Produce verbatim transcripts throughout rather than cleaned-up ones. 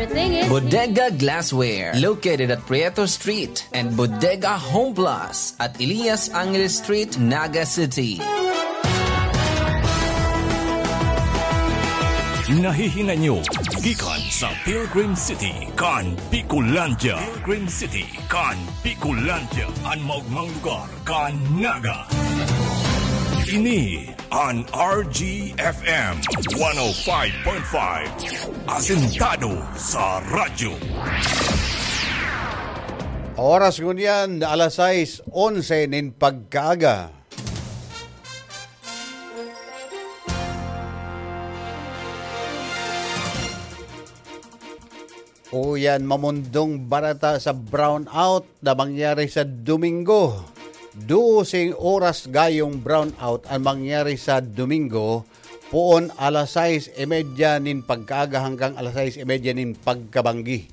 Bodega Glassware, located at Prieto Street, and Bodega Home Plus at Elias Angeles Street, Naga City. Nahihinay nyo gikan sa Pilgrim City kan Bicolandia. Pilgrim City kan Bicolandia, an maogmang lugar kan Naga. Ini an R G F M one oh five point five, asentado sa radyo. Oras ngunyan, alas sais onse nin pagkaaga. Uyan, mamundong bareta sa brownout na mangyari sa Domingo. Doseng oras gayong brownout an mangyari sa Domingo, poon alas sais y media nin pagkaaga hanggang alas sais y media nin pagkabanggi.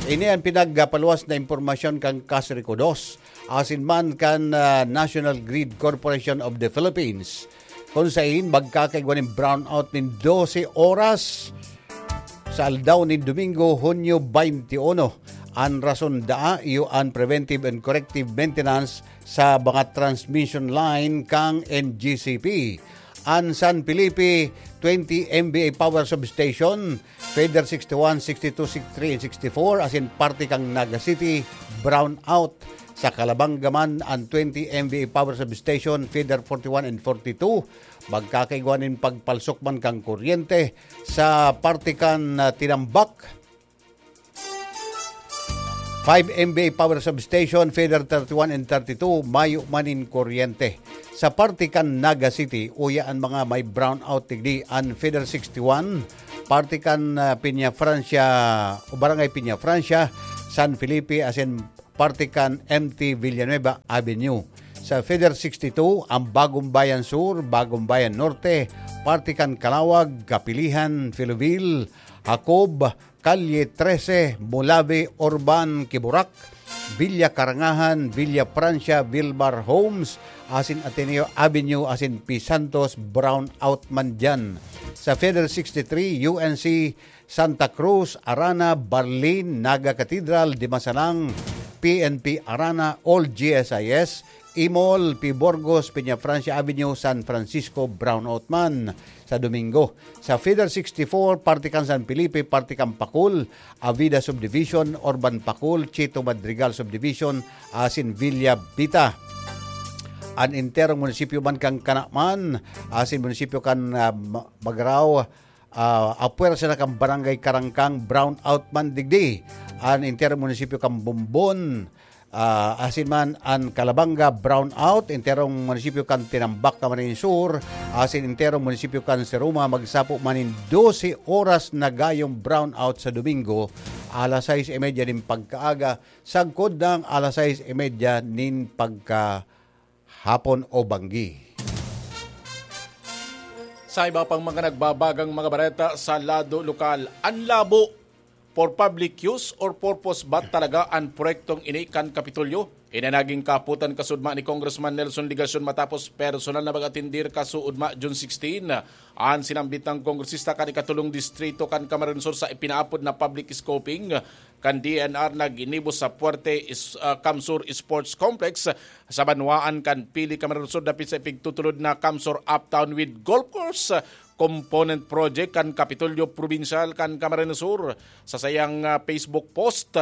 Ini an pinagpaluwas na impormasyon kan Kasriko dos, asin man kan, ah, National Grid Corporation of the Philippines, kun sain magkakaigwa nin brownout nin dose oras sa aldaw nin Domingo, Hunyo twenty-one. An rason daa iyo an preventive and corrective maintenance sa mga transmission line kan N G C P. An San Felipe twenty M V A Power Substation, feeder sixty-one, sixty-two, sixty-three, and sixty-four, asin parte kan Naga City, brownout. Sa Calabanga man, an twenty M V A Power Substation, feeder forty-one and forty-two, magkakaigwa nin pagpalsok man kan kuryente. Sa parte kan, ah, Tinambac, five M V A Power Substation, feeder thirty-one and thirty-two, mayo man nin kuryente. Sa parte kan Naga City, uya an mga may brownout digdi, an feeder sixty-one, parte kan, ah, Peña Francia, o Barangay Peña Francia, San Felipe, asin parte kan M T Villanueva Avenue. Sa feeder sixty-two, ang Bagong Bayan Sur, Bagong Bayan Norte, parte kan Calauag, Capilihan, Filoville, Jacob, Calle trese, Mulabe, Urban, Quiborac, Villa Carangahan, Villa Francia, Vilmar Homes, asin Ateneo Avenue, asin P. Santos, brownout man diyan. Sa feeder sixty-three, U N C, Santa Cruz, Arana, Barlin, Naga Cathedral, Dimasalang, P N P Arana, Old G S I S, Imol, P. Burgos, Peña Francia Avenue, San Francisco, brownout man sa Domingo. Sa feeder sixty-four, parte kan San Felipe, parte kan Pacul, Avida Subdivision, Urban Pacul, Chito Madrigal Subdivision, asin Villa Vita. An enterong munisipyo man kan Canaman, asin munisipyo kan, ah, Ma-, Magrao, ah, apwersa na kan Barangay Karangkang, brownout man digdi. An enterong munisipyo kan Bombon, ah, asin man an Calabanga, brownout. Enterong munisipyo kan Tinambac, Camarines Sur, asin enterong munisipyo kan Seroma, magsapo man nin dose oras na gayong brownout sa Domingo, alas sais y media nin pagkaaga, sagkod nang alas sais y media nin pagkahapon o banggi. Sa iba pang mga nagbabagang mga bareta sa lado lokal, an labo for public use or purpose ba talaga an proyektong ini kan Kapitolyo? Ini naging kahapotan kasudma ni Congressman Nelson Legacion matapos personal na mag-atendir kasuudma June sixteen an sinambit na kongresista kan ikatulong distrito kan Camarines Sur sa ipinaapod na public scoping kan D E N R na ginibo sa Puerte Is-, ah, Camsur Sports Complex sa banwaan kan Pili, Camarines Sur, dapit sa ipigtutulod na Camsur Uptown with Golf Course Component Project kan Kapitolyo Probinsyal kan Camarines Sur. Sa sayang, ah, Facebook post,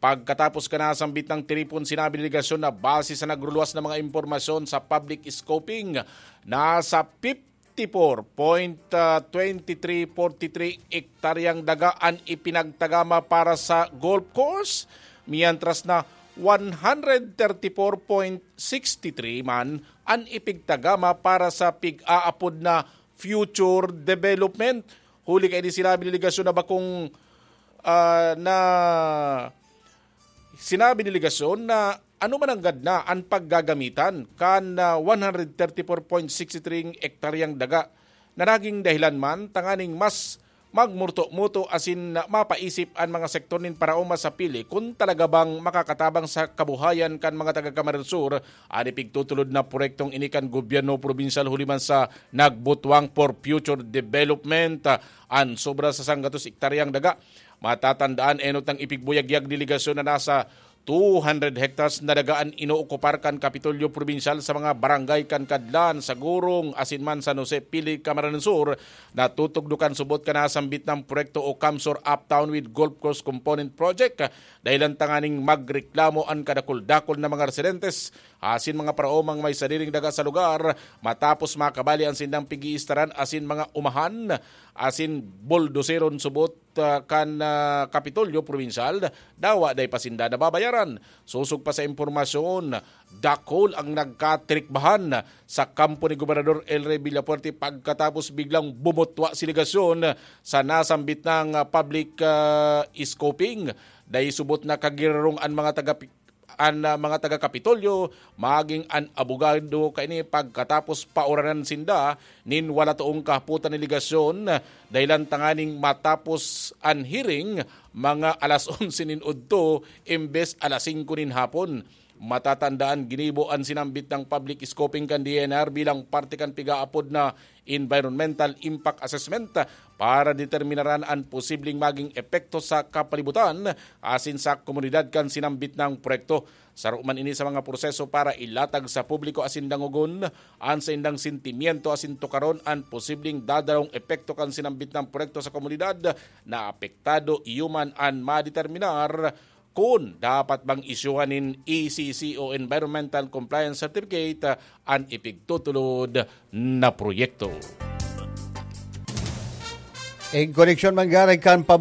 pagkatapos kan nasambit na tiripon, sinabi ni Legacion na base sa nagruluwas na mga impormasyon sa public scoping, nasa fifty-four point twenty-three forty-three ektaryang daga an ipinagtagama para sa golf course, mientras na one hundred thirty-four point sixty-three man an ipigtagama para sa pig-aapod na future development. Huli kaini, sinabi ni Legacion na bakong, ah, na sinabi ni Legacion na ano man nanggad na an paggagamitan kan, ah, one hundred thirty-four point sixty-three ektaryang daga na naging dahilan man tanganing mas magmurto-muto asin mapaisip an mga sektor nin paraoma sa pili kun talaga bang makakatabang sa kabuhayan kan mga taga Camarines Sur an ipigtutulod na proyektong ini kan gobyerno probinsyal huli man sa nagbutwang for future development. An sobra sa sanggatos ektaryang daga, matatandaan, enot ang ipigbuyagyag delegasyon na nasa two hundred hectares na daga an inookupar kan Kapitolyo Probinsyal sa mga barangay kan Kadlan, Sagurong, asin man San Jose, Pili, Camarines Sur, na tutugdo kan subot kan nasambit na proyekto o CamSur Uptown with Golf Course Component Project. Dahilan tanganing magreklamo an kadakul-dakul na mga residentes asin mga paraomang may sariring daga sa lugar matapos makabali an sindang pig-iistaran asin mga umahan asin buldoseron subot ah, kan ah, Kapitolyo Probinsyal, dawa dai pa sinda nababayaran. Sosog pa sa impormasyon, dakul ang nagkatrikbahan sa kampo ni Gobernador El Rey Villafuerte pagkatapos biglang bumutwa si delegasyon sa nasambit na ah, public ah, scoping. Dai subot na kagirarong an mga taga an ah, mga taga Kapitolyo, maging an abogado kaini pagkatapos pauranan sinda nin wala toong kahapotan ni delegasyon, dahilan tanganing matapos an hearing mga alas onse nin udto imbes alas singko nin hapon. Matatandaan, ginibo an sinambit na public scoping kan D E N R bilang parte kan pigaapod na environmental impact assessment para determinaran an posibleng maging epekto sa kapalibutan asin sa komunidad kan sinambit na proyekto. Saro man ini sa mga proseso para ilatag sa publiko asin dangogon an saindang sentimiento asin tukaron an posibleng dadarong epekto kan sinambit na proyekto sa komunidad na apektado, iyo man an madeterminar kun dapat bang isyuhan nin E C C o Environmental Compliance Certificate an ipigtutulod na proyekto. In koneksyon man gani kan public